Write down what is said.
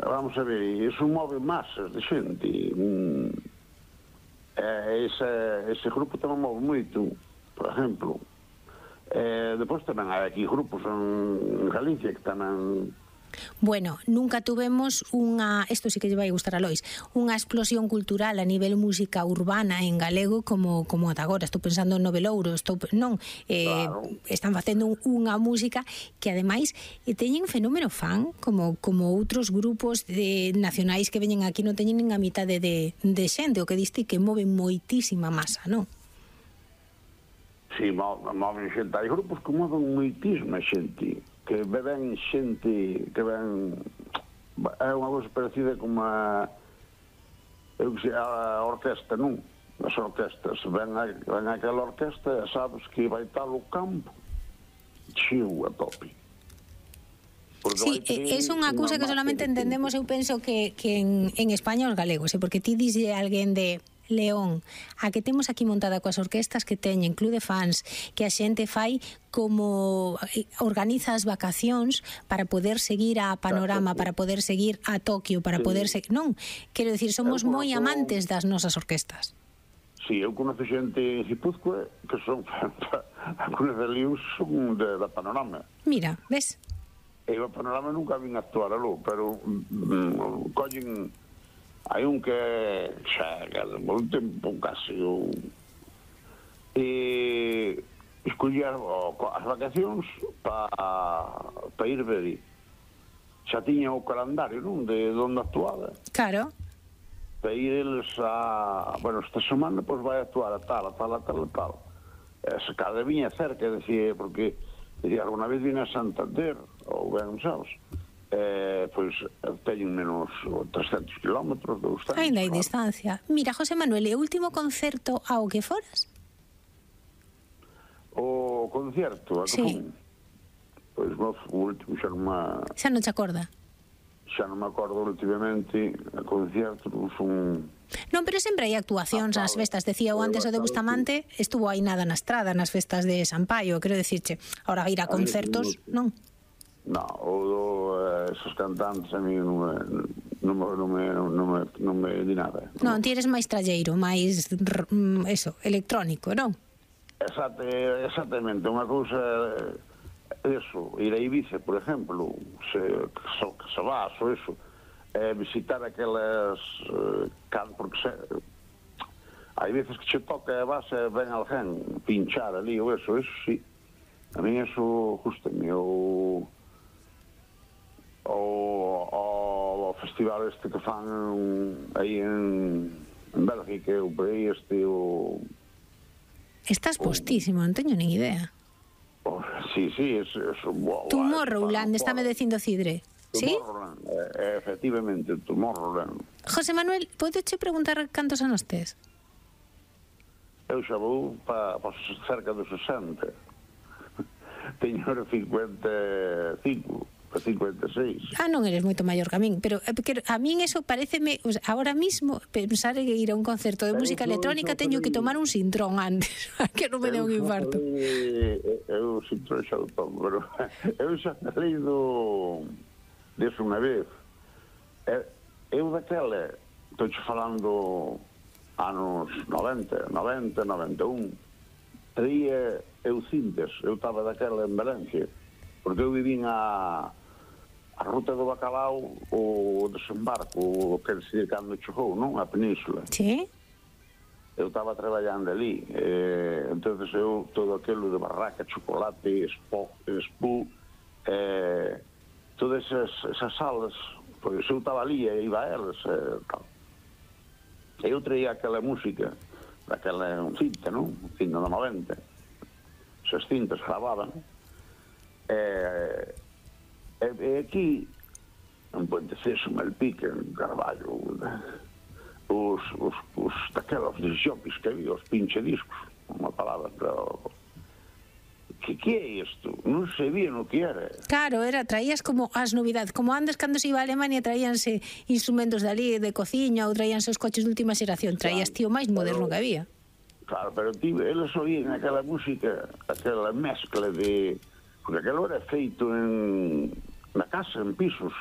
vamos a ver, iso move masas de xente. Ese grupo tamén move moito, por exemplo. Depois tamén hai aquí grupos en Galicia que tamén... Bueno, nunca tuvemos isto sí que lle vai gustar a Lois, unha explosión cultural a nivel música urbana en galego como ata agora. Estou pensando en Novelouro, claro. Están facendo unha música que ademais teñen fenómeno fan como outros grupos nacionais que veñen aquí, non teñen nin a mitade de xente, o que diste que moven moitísima masa, non? Si, moven xente, hai grupos que moven moitísima xente, que beben xente, que ven... É unha cousa parecida como a orquesta, non? As orquestas, ven aquela orquesta, sabes que vai tal o campo, cheo a tope. Sí, é unha cousa que solamente entendemos, eu penso que en España os galegos, porque ti dixe alguén de León, a que temos aquí montada coas orquestas que teñen club de fans, que a xente fai como organiza as vacacións para poder seguir a Panorama, para poder seguir a Tokio, para poder seguir, non? Quero dicir, somos moi amantes das nosas orquestas. Si, eu conoce xente en Guipúzcoa que son algunos de líos son da Panorama. Mira, ves? E o Panorama nunca vin actuar aló, pero collen... Hai un que xa un tempo casi escoller as vacacións para ir ver. Xa tiña o calendario, non? De onde actuaba. Claro. Para ir eles bueno, esta semana pois vai actuar a tal. Se cada viña cerca, decía, porque alguna vez vine a Santander, ou ben, sabes? Pois teñen menos 300 kilómetros, 200. Ainda hai distancia. Mira, José Manuel, e o último concerto ao que foras? O concerto, a que fun? Pois o último xa non te acorda? Xa non me acordo últimamente, a concerto non fun... Non, pero sempre hai actuacións nas festas. Decía o antes o de Bustamante, estuvo aí nada na estrada nas festas de Sampaio, quero dicirche, ahora ir a concertos, non? No, esos cantantes a mí non me di nada. Non, ti eres máis tralleiro, máis electrónico, non? Exactamente, unha cousa eso, ir a Ibiza, por exemplo, se vas ou eso, visitar aquelas porque hai veces que che toca e vas e ven alguén pinchar ali ou eso sí, a mí eso gustame. O festival este que fan aí en Bélgica, o país Estás postísimo, non teño nin idea. Sí, eso Tomorrowland, estáme dicindo Cidre. ¿Sí? Efectivamente, Tomorrowland. José Manuel, podeche preguntar cantos anos tes? Eu xa vou para cerca dos 60. Teño 55. 56. Non eres moito maior que a min, pero a min eso pareceme, ahora mismo pensar en ir a un concerto de música electrónica teño que tomar un sintrón antes, que non me dé un infarto. Eu sintrón xa do tomo, pero eu xa falei deso unha vez. Eu daquela, estou falando anos 90, 91, traía eu cintas, eu estaba daquela en Valencia, porque eu vivín a ruta do Bacalao, o desembarco, o que decide cando chegou, non? A península. Sí. Eu estaba traballando ali, entonces eu, todo aquilo de barraca, chocolate, espú, todas esas salas, pois eu estaba ali e iba a elas, tal. Eu traía aquela música, daquela cinta, non? Cinta do 90. Esas cintas gravaban, e aquí en Puente Ceso, Malpica, en Carballo, daquelas disjockeys que había, os pinchadiscos, unha palabra, pero que é isto? Non sabían o que era. Claro, traías como as novidades, como antes cando se iba a Alemania traíanse instrumentos dali de cociña ou traíanse os coches de última xeración, traías tío máis moderno que había. Claro, pero eles oían aquela música, aquela mezcla de... Porque aquilo era feito na casa, en pisos,